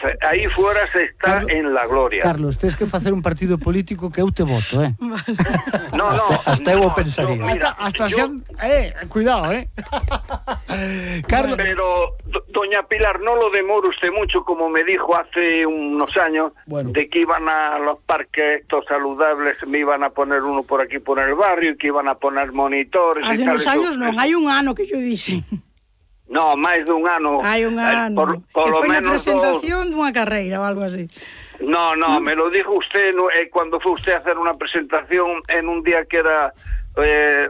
Entonces, aí fuera se está en la gloria. Carlos, tens que facer un partido político que eu te voto, No, hasta eu o pensaría. Hasta xan... cuidado, Carlos... Pero, doña Pilar, no lo demore usted mucho, como me dijo hace unos años, de que iban a los parques estos saludables, me iban a poner uno por aquí por el barrio, y que iban a poner monitores. Hace unos años non, hai un ano que yo dixen. No, máis dun ano. Hai un ano. Por que lo foi na menos presentación dunha carreira ou algo así. No, me lo dijo usted cuando fue usted a hacer una presentación en un día que era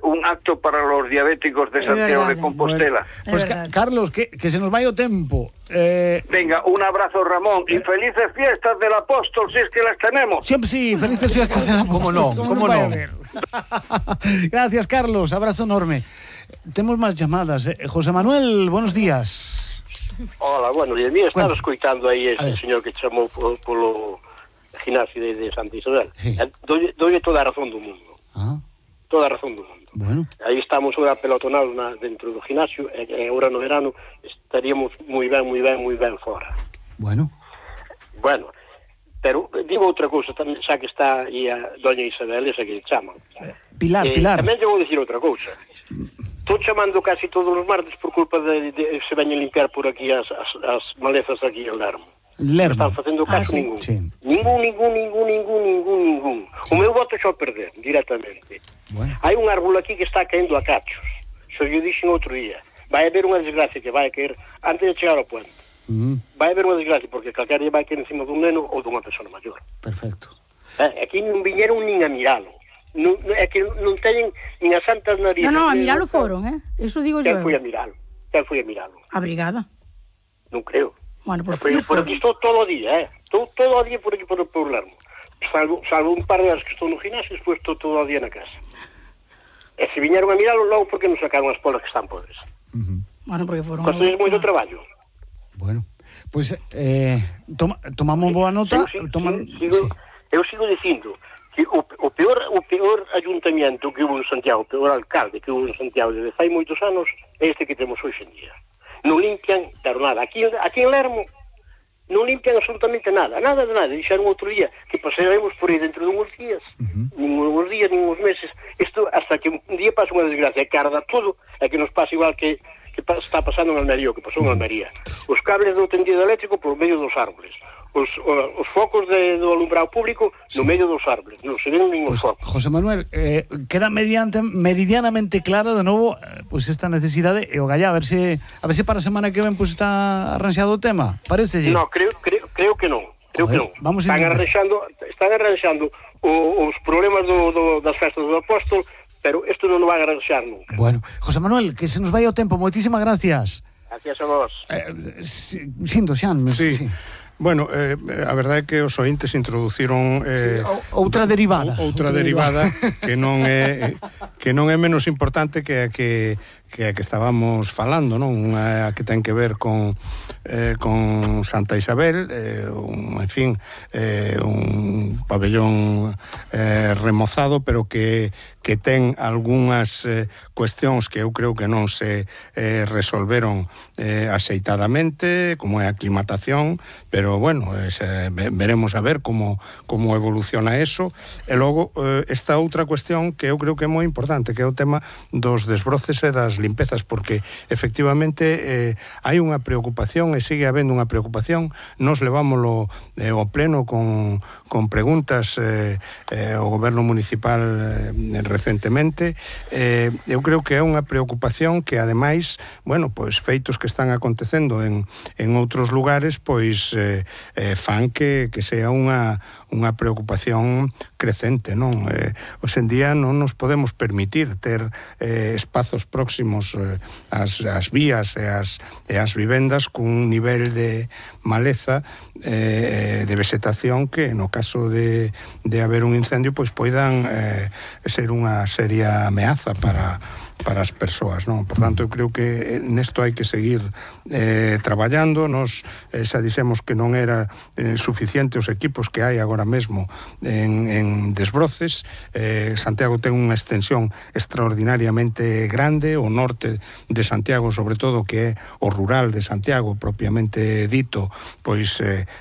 un acto para los diabéticos de Santiago de Compostela. Pues Carlos, que se nos vai o tempo. Venga, un abrazo, Ramón, y felices fiestas del apóstol, si es que las tenemos. Siempre sí, felices fiestas del apóstol. ¿Cómo no? Gracias, Carlos, abrazo enorme. Temos máis llamadas. José Manuel, buenos días. Hola, buenos días. Mira, estaba escoitando aí este señor que chamou polo gimnasio de Santa Isabel. Sí. Dolle toda a razón do mundo. Toda a razón do mundo. Bueno. Aí estamos agora pelotonados dentro do gimnasio, e agora no verano estaríamos moi ben fora. Bueno, pero digo outra cousa tamén, xa que está aí a doña Isabel, esa que chaman. Pilar. Tamén lle vou dicir outra cousa. Estou chamando casi todos os martes por culpa de se veñen limpiar por aquí as malezas aquí en Lermo. Non están facendo caso ningún. Sí. Ningún. O meu voto xa o perder, directamente. Bueno. Hai un árbol aquí que está caendo a cachos. Xo lle dixen outro día. Vai haber unha desgracia que vai caer antes de chegar ao puente. Vai haber unha desgracia porque calquera vai caer encima dun neno ou dunha persona maior. Perfecto. Aquí non viñeron nin a miralo. É que non teñen nin as santas narices. No, a miralo foron, Eso digo yo. Quen foi a miralo? A brigada. Non creo. Bueno, pues por aquí estou todo o día, Estou todo o día por aquí por Lermo. Salvo un par de horas que estou no gimnasio, despois estou todo o día na casa. E se viñeron a miralo, logo porque non sacaron as polas que están podres. Bueno, porque foron... Costedes moito traballo. Bueno, pois tomamos boa nota. Eu sigo dicindo que o peor ayuntamiento que hubo en Santiago, o peor alcalde que hubo en Santiago desde fai moitos anos é este que temos hoxe en día. Non limpian, pero nada. Aquí en Lermo non limpian absolutamente nada. Dixeron outro día que pasaremos por aí dentro de uns días. Nin uns meses. Isto hasta que un día pasa unha desgracia que arda todo, e que nos pasa igual que está pasando en Almería, o que pasou en Almería. Os cables do tendido eléctrico por medio dos árboles. Os focos do alumbrado público no medio dos árboles. Non se ven ningún foco. José Manuel, queda meridianamente claro de novo esta necesidade e o gallá, a ver se para a semana que ven está arranxado o tema. Parecelle? No, creo que non. Vamos están arranxando os problemas das festas do apóstol, pero isto non o vai arranxar nunca. Bueno, José Manuel, que se nos vai o tempo. Moitísimas gracias. Gracias a vos. Sindo, Xan. Sí. Bueno, a verdade é que os ointes introduciron outra derivada que non é menos importante que a que estábamos falando, non? Unha que ten que ver con Santa Isabel, un pabellón remozado, pero que ten algunhas cuestións que eu creo que non se resolveron axeitadamente, como é a aclimatación, pero bueno, veremos a ver como evoluciona eso. E logo esta outra cuestión que eu creo que é moi importante, que é o tema dos desbroces e das limpezas, porque efectivamente hai unha preocupación e sigue habendo unha preocupación. Nos levámoslo ao pleno con preguntas ao goberno municipal recentemente. Eu creo que é unha preocupación que ademais, bueno, pois feitos que están acontecendo en outros lugares, pois fan que sea unha preocupación crecente, non? Hoxe en día non nos podemos permitir ter espazos próximos ás vías e ás vivendas cun nivel de maleza de vegetación que no caso de haber un incendio pois poidan ser unha seria ameaza para as persoas, non? Por tanto, eu creo que nesto hai que seguir traballando. Nos xa dixemos que non era suficiente os equipos que hai agora mesmo en desbroces. Santiago ten unha extensión extraordinariamente grande, o norte de Santiago, sobre todo, que é o rural de Santiago propiamente dito, pois